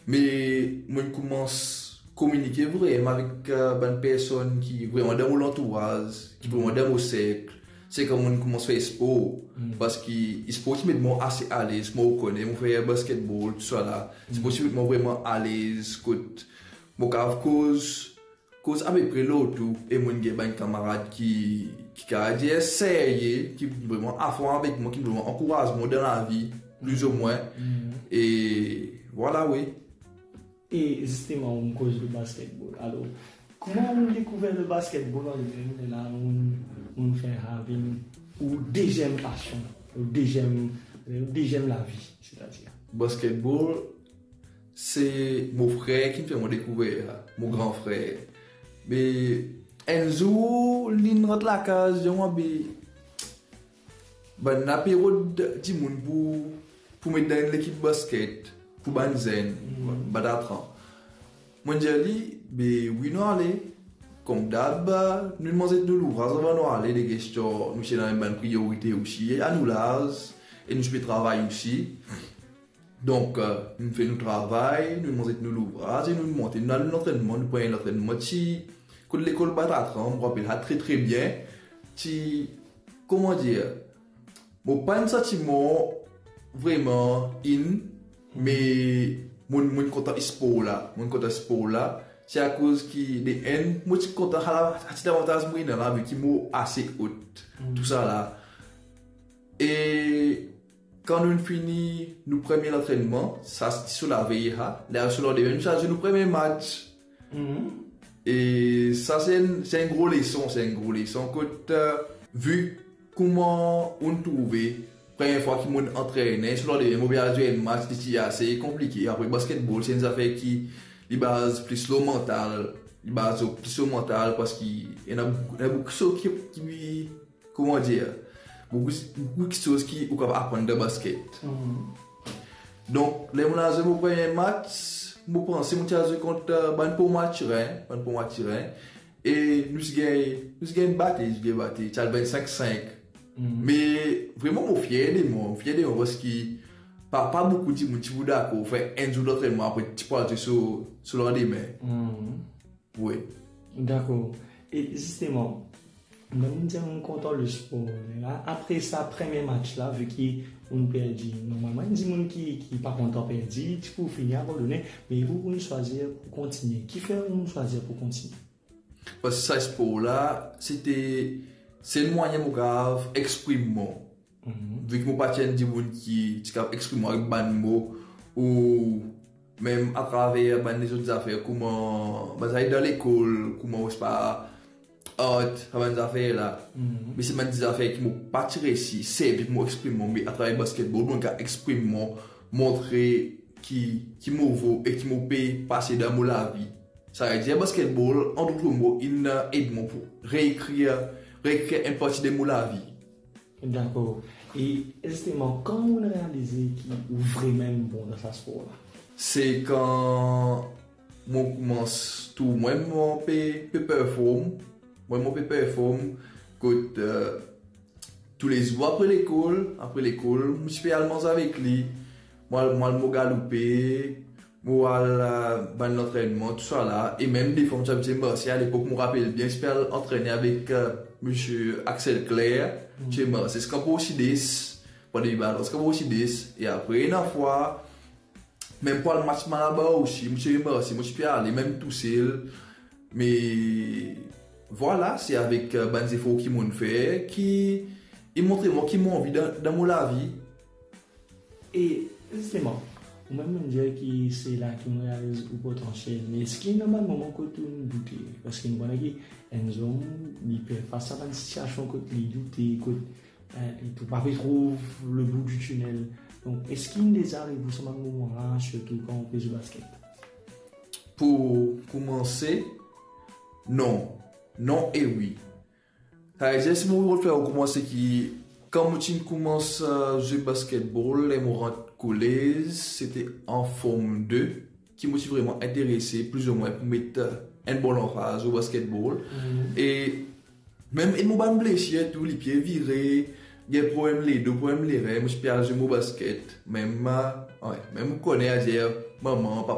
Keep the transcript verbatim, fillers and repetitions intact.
Me mo'nn koumans kominike vremem avek, eh, bann personn ki vremem dan mo lantouraz, ki vremem dan mo serk. Se kan mo'nn koumans fer spor. Parski spor ti met mwa ase alez, mo kone, mo fer basketball, tousala. Spor ti met mwa vremem alez, kot mo kav koz, koz apepre lor tou, e mo'nn gagn bann kamarad ki, ki kav dir serye, ki vremem afon avek mwa, ki vremem ankouraz mwa dan lavi, plizoumwin. E vwala, wi. E zisteman, ou koz le basketball. Alor, kouma ou dekouver le basketball an limem, lerla ou, ou fer sa vinn ou deziem pasion, ou deziem, ou deziem lavi, setadir? Basketball, se mo frer ki fer mwa dekouver, mo gran frer. Me enn zour, li'nn rant lakaz, dir mwa, be, bann la pe rod dimoun pou, pou met dan enn lekip basket pou bann zenn, Batatran. Mo'nn dir li, be wi, nou ale. Kouma dab, nou manz nou louvraz avan nou ale, de gestion, nou ti ena bann priorite osi, a nou laz, e nou ti pe travay osi. Donk, eh, nou fer nou travay, nou manz nou louvraz, e nou monte, nou al lantrennman, nou pran lantrennman ti, kot lekol Batatran, mo rapel sa tre, tre bien. Ti, kouma dir, mo pa'nn santi mwa vremem in, me mo'nn, mo'nn kontan spor la, mo'nn kontan spor la, se akoz ki de enn, mo ti kontan sa la, sa ti lavantaz mo ena la, vi ki mo ase ot, tousala. E kan nou fini nou premie lantrennman, sa ti so lavey sa, ler so landime, nou ti al zwe nou premie match. E sa, se enn, se enn gro leson, se enn gro leson. Kot, eh, vi kouma ou trouve, premie fwa ki mo'nn antrene, so landime mo pe al zwe enn match, li ti ase konplike. Apre, basketball, se enn zafer ki, li baz plis lor mantal, li baz plis lor mantal, parski ena boukou, ena boukou kiksoz ki, ki kouma dir, boukou, boukou kiksoz ki ou kav aprann dan basket. Donk, ler mo al zwe mo premie match, mo panse mo ti al zwe kont, eh, bann Pont Mathurin, bann Pont Mathurin, e nou ti gagn, nou ti gagn bate, nou ti gagn bate, ti al vennsink sink. Me vremem mo fier de mwa, mo fier de mwa, parski pa, pa boukou dimoun ti pou dakor fer enn zour lantrenman, apre ti pou al zwe so, so landime. Wi. Dakor. E zisteman, mem si mo'nn kontan le spor, la, apre sa premie match la, vi ki ou'nn perdi, normalman, enn dimoun ki, ki pa kontan perdi, ti pou fini abandone, me ou, ou'nn swazir pou kontigne. Kifer ou'nn swazir pou kontigne? Parski sa spor la, se te sel mwayin mo kav exprim mwa. Vi ki mo pa ti enn dimoun ki ti kav exprim mwa avek bann mo, ou mem atraver bann lezot zafer, kouma bann zafer dan lekol, kouma, mo pa, art, sa bann zafer la. Me se bann zafer ki mo pa ti resi servi pou mo exprim mwa, me atraver basketball, mo kav exprim mwa, montre ki, ki mo vo e ki mo pe pase dan mo lavi. Savedir basketball, an dot mo, inn ed mwa pou reekrir, reekrir enn parti de mo lavi. Dakor. E zisteman, kan ou realize ki ou vremem bon dan sa spor la? Se kan mo koumans trouv mwa, mo pe, pe perform. Mwa, mo pe perform kot, eh, toulezour apre lekol, apre lekol, mo ti pe al manz avek li. Mo al, mo al, mo galoupe, mo al, eh, bann lantrennman, tousala. E mem defwa mo ti abitie marse. Alepok, mo rapel bien, ti pe al antrene avek, eh, misie Axel Claire. Ti pe marse ziska Port Sides, pran de balon ziska Port Sides. E apre, ena fwa, mem pou al match Malabar osi, mo ti pe marse, mo ti pe ale, mem tousel. Me vwala, se avek, eh, bann zefor ki mo'nn fer, ki inn montre mwa ki mo anvi dan, dan mo lavi. E zisteman, ou mem, mo'nn dir ki se la ki ou realiz ou potansiel, me eski ena bann moman kot ou'nn doute? Parski nou kone ki enn zom, li pe fer fas a bann sitiasion kot li doute, kot, eh, li pa pe trouv le bout du tunnel. Donk, eski inn deza ariv ou sa bann moman la, sirtou kan ou pe zwe basket? Pou koumanse, non. Non e wi. Savedir, si mo pou fer ou koumanse ki, kan mo ti koumans, eh, zwe basketball, ler mo rant kolez, se te an Form de, ki mo ti vremem interese, plizoumwin, pou met, eh, enn bon lanfaz o basketball. E mem, e mo bann blesir tou, lipie vire, gagn problem ledo, problem lerin, mo ti pe al zwe mo basket. Mem, eh, wi, mem ou kone, adir, mama, papa,